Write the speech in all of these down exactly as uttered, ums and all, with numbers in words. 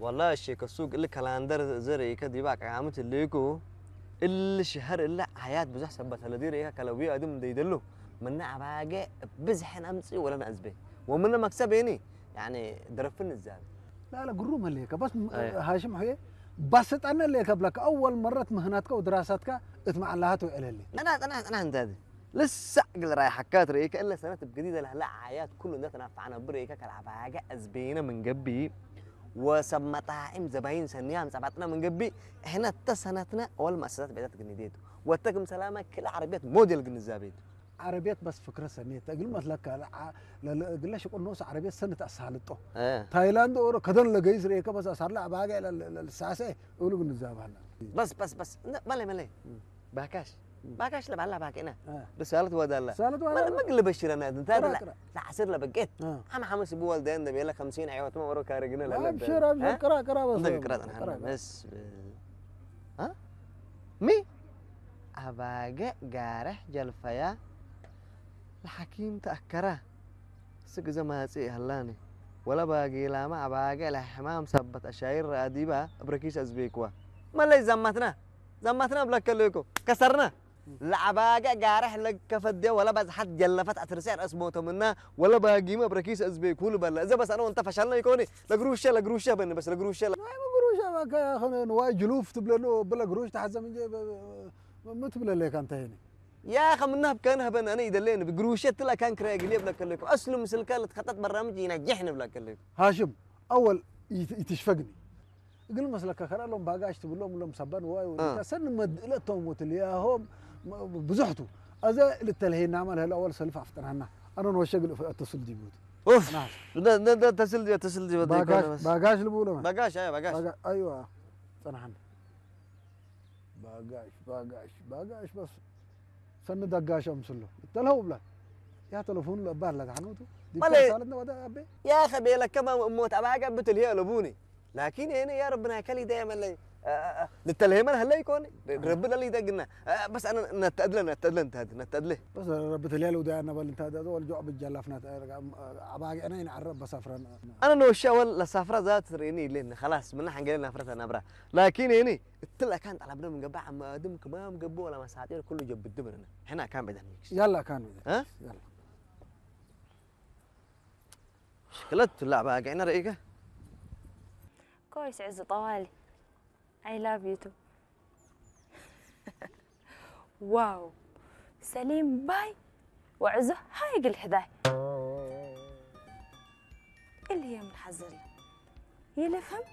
ወላሂ ሼከ ሱግ እሊ ከላንደር ዘርኢከ ዲበ አቃምት ህሌኩ፣ እሊ ሸሀር እሊ አያት ብዙሕ ሰበት ለዲር ኢከ ከለዊ አድም እንዴ ይደሉ፣ ምነ አባጌ ብዝሕን አምጽእ ወለን አዝቤ፣ ወምነ መክሰብ ኒ፣ ያኒ፣ ድረፍን ንዛብ። ላለ ግሩም ህሌከ፣ በስ ም-፣ አየ። ሃሽም ሑዬ፣ ባስጣነ ህሌከ እብለከ፣ አወል መረት ምህናትከ ወድራሳትከ እት መዓላሃት ወዕለሌ። ጠና፣ ጠና፣ ጠና እንተ ዲ። ልሰዕ እግል ራይሐካት ርኢከ፣ እለ ሰነት እብ ገዲደ ለህለ ዓያት ኩሉ እንደ ተናፈዐ ነብር ርኢከ፣ ከለአባገዕ አዝቤነ ምን ገብእ፣ ወሰብ መጣዒም ዘባይን ሰንያም ጸባጥነ ምን ገብእ፣ እሕነ እተ ሰነትነ ወል መአሰሳት ብዕዳት ግኒዴቱ፣ ወተ ክም ሰላመ ክል ዐረብየት ሞዴል ግንዛቤቱ። ዐረብየት በስ ፍክረ ሰኔተ፣ እግል መስለከ፣ ለዐ-፣ ለለ-፣ እግለ ሽቁል ኖስ ዐረብየት ሰነት አሳልጦ። እ። ታይላንድ ኦሮ ከደን ለገይስ ርኢከ፣ በስ አሳርለ አባገዕ ለ-፣ ለ-፣ ለልሳሴ እሉ ግንዛብ ሀላ። በስ፣ በስ፣ በስ። እንደ፣ መለይ፣ መለይ። እም። ባካሽ፣ እም። ባካሽ ለባላ ባኬና። አ። ርሳለት ወዳላ። ርሳለት ወዳላ። መለ መግ ልበሽረና እንታ ቅራ፣ ላ-፣ ቅራ። ለዓስር ለበቄት። አ። አም ሐመስ ብወልደ እንደ ቤለ ከምሲን ሕይወት መ ወሮ ካርግነ ለለበ። አብሽር፣ አብሽር፣ አ? ቅራ፣ ቅራ በስ። እንደ ቅራ ጠንሐና ቅራ፣ ቅራ። መስ ብ-፣ አ? ሚ? አባገ ጋርሕ ጀልፈያ ለሐኪም ተአከራ። ስክ እዘ ማጽእ ሀላኒ። ወለ ባጌላመ አባገ ለሕማም ሰበት አሻይር ረአዲባ እብ ረኪስ አዝቤክዋ። መለይ ዘማትና። ዘማትና እብለከ ሌኮ፣ ከሰርና። ለአባገዕ ጋርሕ ለከፈዴ ወለ በዝሐት ጀለፈት አትርሴዕ ረአስ ሞተ ምና፣ ወለ ባጊመ እብ ረኪስ አዝቤኩ ልበለ። እዘ በስ አነ ወእንተ ፈሸልነ ኢኮኒ፣ ለግሩሸ፣ ለግሩሸ በኒ በስ ለግሩሸ ለ-፣ ናይ ግሩሸ በከ ንዋይ ጅሉፍ ትብለኑ፣ ብለ ግሩሽ ተሐዘም እንጂ፣ ብ-፣ ብ-፣ ብ-፣ ምን ትብለ ሌከ አንተ ሄኒ? ያኸ ምናብ ከን ሀበን አነ ኢደሌን፣ ብግሩሸ ትላ ካን ክራይ ግሌ እብለከ ሌኮ። አስሉ ምስልከ ለትከጠጥ በራምጅ ይናጀሕ ንብለከ ሌኮ። ሃሽም፣ አወል ይት-፣ ይትሽፈግኒ። እግል መስለከ ከረ ሎም ባጋሽ ትብሎም ሎም ሰበን ዋይ ወዲታ አ። ሰን መድእለቶም ወትልያሆም ብዙሕቱ። አዘ ልተልሄናመ ለህለ አወል ሰልፍ አፍጠናና። አነ ንወሸ እግል እፍ-፣ አተስል ዲቡት። ኡፍ! ናስ። እንደ፣ እንደ፣ እንደ ተስል ዲ-፣ ተስል ዲበ ባጋሽ፣ ይኮነ በስ። ባጋሽ ልብሎ መ። ባጋሽ፣ አይ፣ ባጋሽ። ባጋ-፣ አይዋ። ጸናሐን። ባጋሽ፣ ባጋሽ፣ ባጋሽ በስ። ሰኒ ደጋሽ አምስሎ። ተልሀው ብላ። ያ ተለፎኑ ለባር ለተሐነውቱ። ዲብ ማለ ተሳለት ነው ወደ አቤ። ያ ኸቤ ለከማ እሞት አባጋ ብትል ሄ ለቡኒ። ላኪን ሄነ ያ ረብና ከሊ ዳይመን ለይ፣ አ፣ አ፣ አ፣ ልተልሄመን ሀለ ይኮን። አ። ረቢ ለሊ ደግና። አ፣ በስ አነ ነተድለ፣ ነተድለ፣ ነተድለ፣ ነተድለ። በስ ረቢ ተልያለ ወደ አነ በል እንተ ወልጆ ብጀላፍና አባጋ አነ ይንዓረብ በሳፍራን። አነ ኖሻ ወል ለሳፍራ ዛት ሬኒ ይሌን። ኸላስ፣ ምና ሐንገለ ናፍረተ ነብራ። ላኪን ሄኒ እትለ አካን ጠለብነ ምን ገብእ፣ አመ አድም ክማም ገብእ ወለ መሳጢር ኩሉ ጀብድ ምንነ። ሕነ አካን ቤተን ሚክስ። ያላ አካን ቤተን እ? ሚክስ። ያላ። ሽክለት ለአባገዕነ ረኢከ? ኮይስ ዕዝ ጠዋሊ። I love you too. ዋው! ሰሊም ባይ ወዕዙ ሃይ እግል ሕዳይ። እሊ የምን ሐዘለ? ይልፍም?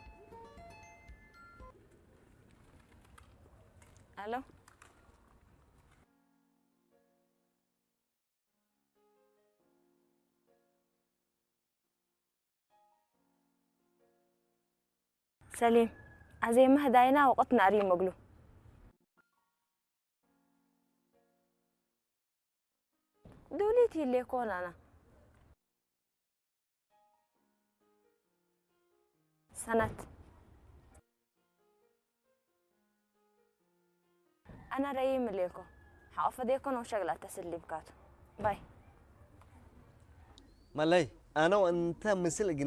አሎ? ሰሊም፣ አዜመ ህዳይና ወቅት ነአርዩ እግሉ። ዱሊት ይሌኮን አና። ሰነት። አነ ረይም እሌኮ፣ ሐቆ ፈዴኮ ነው ሸግላ ተስል ሊብካቱ። ባይ። መለይ፣ አነ ወእንተ ምስል